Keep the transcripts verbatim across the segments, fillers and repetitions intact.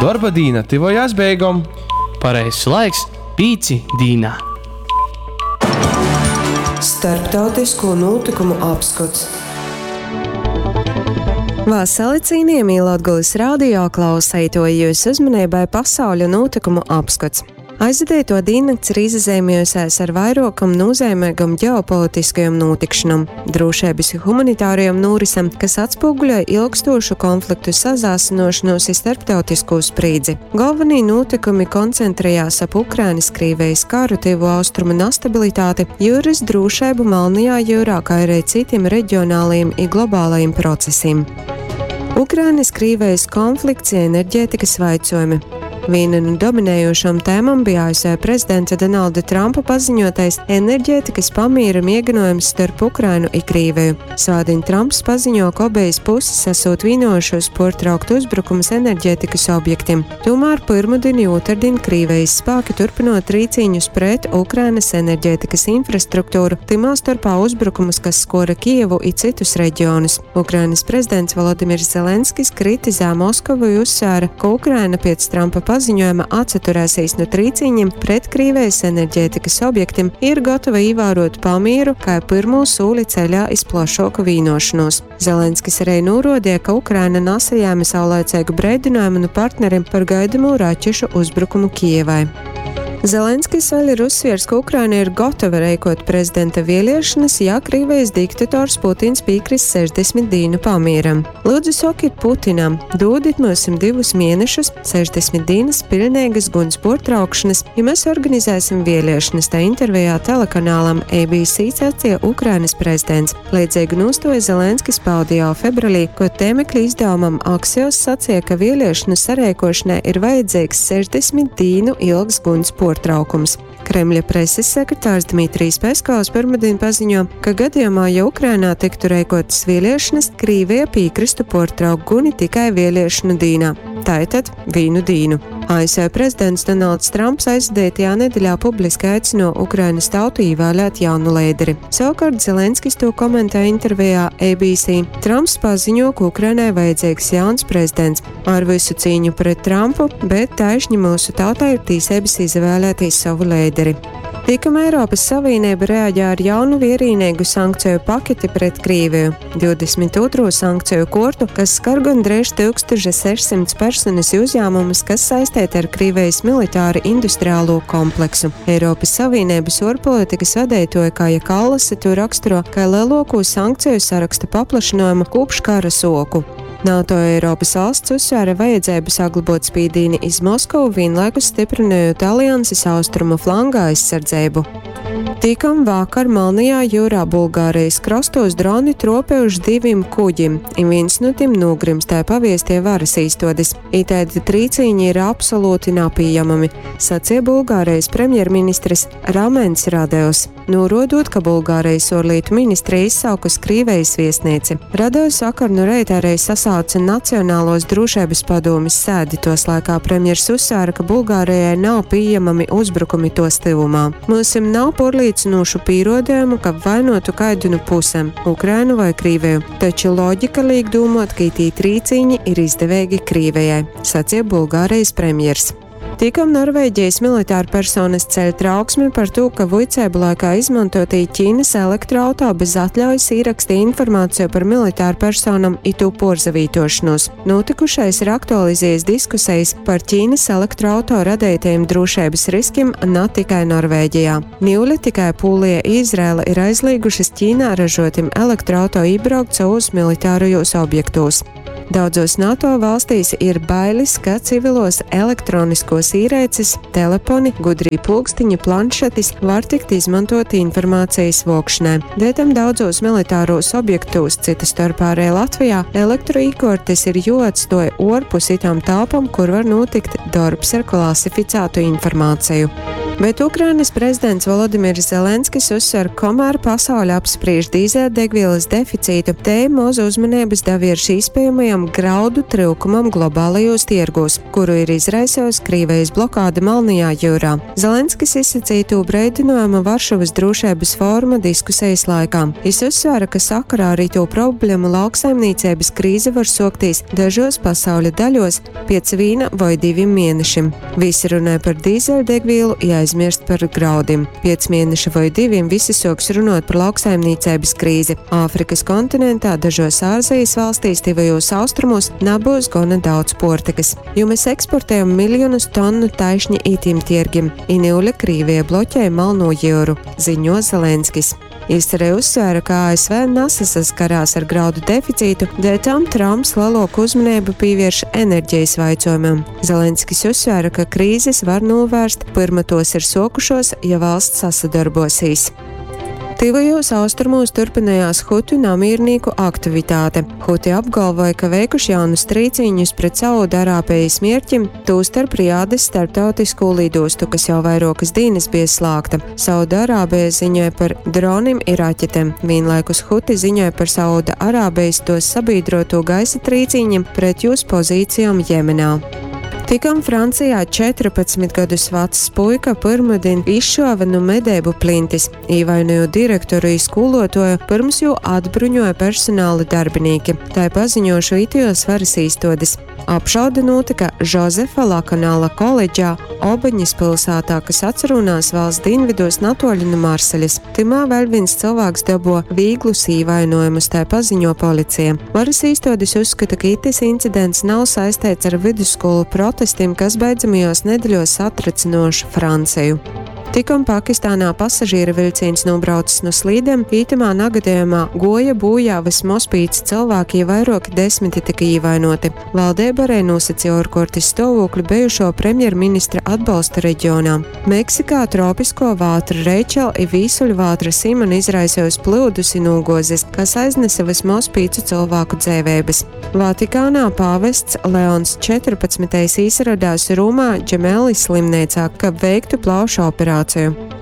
Dorba dīna tyvojās beigom. Pareizs laiks pīci dīnā. Starptautisko nūtykumu apskots. Vasali cīnījamī Latgolys radio klauseitoji, jūsu uzmanībai pasauļa nūtykumu apskots. Aizvadīto dīnnakts ir izazeimējusies ar vairuokom nūzeimeigom ģeopolitiskajom nūtikšanom, drūšeibys i humanitārajom nūrisem, kas atspūguļoj ilgstūšu konfliktu sasaasynuošonūs i starptautiskū sprīdzi. Golvonī nūtykumi koncentrejās ap Ukrainys-Krīvejis karu, Tyvu Austrumu nastabilitāti, jiurys drūšeibu Malnajā jiurā, kai ari cytim regionalajim i globalajim procesim. Ukrainys-Krīvejis konflikts i energetikys vaicuojumi. Vīna nu dominējošom tēmom bija A S V prezidenta Donalda Trumpa paziņotais enerģētikas pamīra mieginuojums starp Ukrainu i Krīveju. Svātdiņ Trumps paziņo, ka obejas puses esot vienojušos puortraukt uzbrukumus enerģētikas objektiem. Tomēr pirmdien i ūtardien Krīvejis spāki turpynot trīcīņus pret Ukrainas enerģētikas infrastruktūru, tymā storpā uzbrukumus, kas skora Kijevu i cytus reģionus. Ukrainas prezidents Volodimirs Zelenskis kritizē Moskavu i uzsvēra, ka Ukraina piec Trumpa paziņojuma atsaturēsīs nu trīcīņiem pret Krīvejas enerģētikas objektiem, ir gatava ievērot pamieru kā pirmo sūli ceļā iz plašāku vīnošanos. Zelenskis arī norādīja, ka Ukraina nasajāma saulaicīgu breidinājumu no partneriem par gaidamo raķešu uzbrukumu Kijevai. Zelenskis vēl ir uzsviers, ka Ukraina ir gatava reikot prezidenta vēlēšanas, ja Krīvijas diktators Putins piekrist sešdesmit dienu pamieram. Lūdzu, sakiet Putinam, dodiet mums divus mēnešus, sešdesmit dienas pilnīgas guns portraukšanas, ja mēs organizēsim vēlēšanas, tā intervijā telekanālam A B C sacīja Ukrainas prezidents. Līdzīgu nostoju Zelenskis pauda jau februārī, ko tēmekļa izdevumam Axios sacīja, ka vēlēšanu sareikošanai ir vajadzīgs sešdesmit dienu ilgs guns portraukums. Kremļa preses sekretārs Dmitrijs Peskovs pirmdien paziņo, ka gadījumā, ja Ukrainā tiktu reikotas vēlēšanas, Krīvija piekristu portraukt guni tikai vēlēšanu dīnā. Tātad vīnu dīnu. A S V prezidents Donalds Trumps aizvadītajā nedēļā publiski aicino Ukrainas tautu ievēlēt jaunu līderi. Savukārt Zelenskis to komentē intervijā A B C. Trumps paziņo, ka Ukrainai vajadzīgs jauns prezidents. Ar visu cīņu pret Trumpu, bet taišņi mūsu tautai ir tīsības izvēlēties savu līderi. Tikam Eiropas Savienība reaģē ar jaunu vierīnīgu sankciju paketi pret Krīviju. divdesmit ūtrū sankciju kortu, kas skar gandrīz tūkstoš sešsimt personas i uzņēmumus, kas saistīti ar Krīvijas militāri industriālo kompleksu. Eiropas Savienības ārpolitikas vadītoja Kaja Kallase to raksturo kā lielāko sankciju saraksta paplašinājumu kopš kara soku. NATO Eiropas valsts uzsvēra vajadzību saglabot spīdīni iz Moskavu, vienlaikus stiprinot alianses austrumu flanga aizsardzību. Tikam vakar Melnajā jūrā Bulgārijas krastos droni tropējuši divim kuģim, i viens no tiem nogrimst, tā paviestie varas īstodes. Itaidi trīcīņi ir absolūti napījamami, sacīja Bulgārijas premjerministrs Ramens Radevs, norodot, ka Bulgārijas ārlietu ministrija izsaukus Krīvejas viesnieci. Radevs vakar nu reita arī sasauca Nacionālos drošības padomis sēdi, tos laikā premjers uzsvēra, ka Bulgārijai nav pieejami uzbrukumi tos tuvumā. Mūsim nav porlīdzinošu pīrodējumu, ka vainotu kaidu nu pusēm – Ukrainu vai Krīveju. Taču loģika liek domāt, ka itī trīcīņi ir izdevīgi Krīvejai, sacīja Bulgārijas premjers. Tikam Norvēģijas militāra personas ceļ trauksmi par to, ka vuicēbu laikā izmantotī Ķīnas elektroauto bez atļaujas ierakstīja informāciju par militāru personam i tū porzavītošanos. Notikušais ir aktualizējis diskusijas par Ķīnas elektroauto radītajiem drošības riskiem ne tikai Norvēģijā. Niule tikai Pūlija i Izraela ir aizliegušas Ķīnā ražotiem elektroauto iebraukt savos militārajos objektos. Daudzos NATO valstīs ir bailes, ka civilos elektroniskos ierēces, teleponi, gudrī pulkstiņi, planšetis var tikt izmantoti informācijas vokšanai. Dētam daudzos militāros objektos, cita starpā arī Latvijā, elektroīkortes ir joatstoja orpus itām telpam, kur var notikt darbs ar klasificētu informāciju. Bet Ukrainas prezidents Volodimirs Zelenskis uzsver, kamēr pasaule apspriež dīzeļdegvielas deficītu, te moz uzmanības davierš iespējamajam graudu tryukumam globālajos tirgos, kuru ir izraisījusi Krīvijas blokāde Melnajā jūrā. Zelenskis izsacīja tū breidinājumu Varšavas drošības fóruma diskusijas laikā. Jis uzsvēra, ka sakarā ar itū problēmu lauksaimniecības krīze var soktīs dažos pasauļa daļos piec vīna voi divim mēnešim. Visi runāja par dīzeļdegvielu, ja aizmirst par graudim. Piec mēneša voi divim visi soks runot par lauksaimniecības krīzi. Āfrikas kontinentā, dažos Āzijas valstīs, tivajos austrumos nabūs gana daudz portikas, jo mēs eksportējam miljonus tonu taišņi itim tirgim. I niule Krīvija bloķē Malno jūru, ziņo Zelenskis. Jis arī uzsvēra, ka A S V nesaskarās ar graudu deficītu, dēļ tam Trumps lielāku uzmanību pievērš enerģijas jautājumam. Zelenskis uzsvēra, ka krīzes var novērst, pirma tos ir sokušos, ja valsts sasadarbosīs. Tivajos austrumos turpinājās Hutu namiernieku aktivitāte. Huti apgalvoja, ka veikuši jaunus trīciņus pret Saudārābijas mierķim, tūstarp Riādes starptautisko lidostu, kas jau vairākas dienas bija slēgta. Saudārābija ziņoja par dronim i raķetēm. Vienlaikus Huti ziņoja par Sauda-Arābijas tos sabiedroto gaisa trīciņiem pret jūs pozīcijām Jemenā. Tikam Francijā četrpadsmit gadus vecs puika pirmdien izšāva no medību plintis, īvainojot direktoru i skolotoju, pirms jū atbruņoja personāla darbinieki. Tā paziņošu itijos varas īstodes. Apšaude notika Žozefa Lakanāla koledžā Obaņas pilsētā, kas atrunās valsts dienvidos natoļu no Marseļas. Timā vēl viens cilvēks dabo vīglus īvainojumus, tā paziņo policija. Varas īstodes uzskata, ka itis incidents nav saistīts ar vidusskolu protestiem, kas beidzamajos nedēļos satricinoši Franciju. Tikom Pakistānā pasažieru vilciens nobraucis no slīdēm, ītamā nagadījumā goja bojā vismaz pieci cilvēki, ja vairāki desmiti tika ievainoti. Valdība arī nosacīja ārkārtas stāvokli bijušo premjerministra atbalsta reģionā. Meksikā tropisko vātru Reičel i vīsuļu vātra Simon izraisījusi plūdus i nūgozes, kas aiznesa vismaz piecu cilvēku dzīvības. Vatikānā pāvests Leons četrpadsmitais ieradās Romā Džemelli slimnīcā, kab veiktu plaušu operāciju.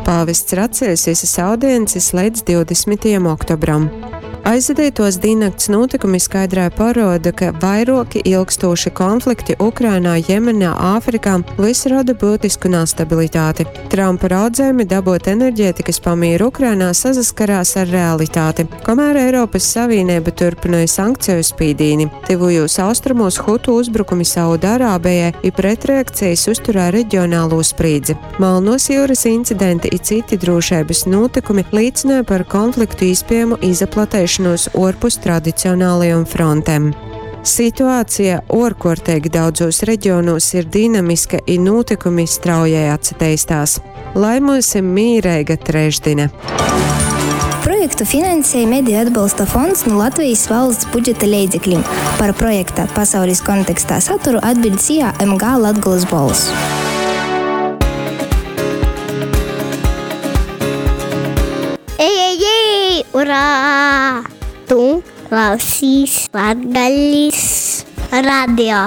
Pāvests ir atcēlis visas audiences līdz divdesmitajam oktobram. Aizvadītos diennakts notikumi skaidrai paroda, ka vairoki ilgstoši konflikti Ukrainā, Jemenā, Āfrikā visi rada būtisku nestabilitāti. Trumpa raudzējumi dabūt enerģētikas pamieru Ukrainā sasaskarās ar realitāti, kamēr Eiropas Savienība turpināja sankciju spīdīni. Tuvajos austrumos Hutu uzbrukumi Saudārābijai i pretreakcijas uzturēja reģionālo sprīdzi. Melnos jūras incidenti i citi drošības notikumi liecināja par konfliktu iespējamu izplatēšanu orpus tradicionālajām frontēm. Situācija orkortīgi daudzos reģionos ir dinamiska i notikumi straujai atsateistās. Lai mums ir mīreiga trešdina! Projektu finansēja Mediju atbalsta fonds no Latvijas valsts budžeta leidzekļiem. Par projekta pasaules kontekstā saturu atbild S I A M G Latgolas Bols. Ej, ej, ej, urā! Tu klausīs Latgales radio.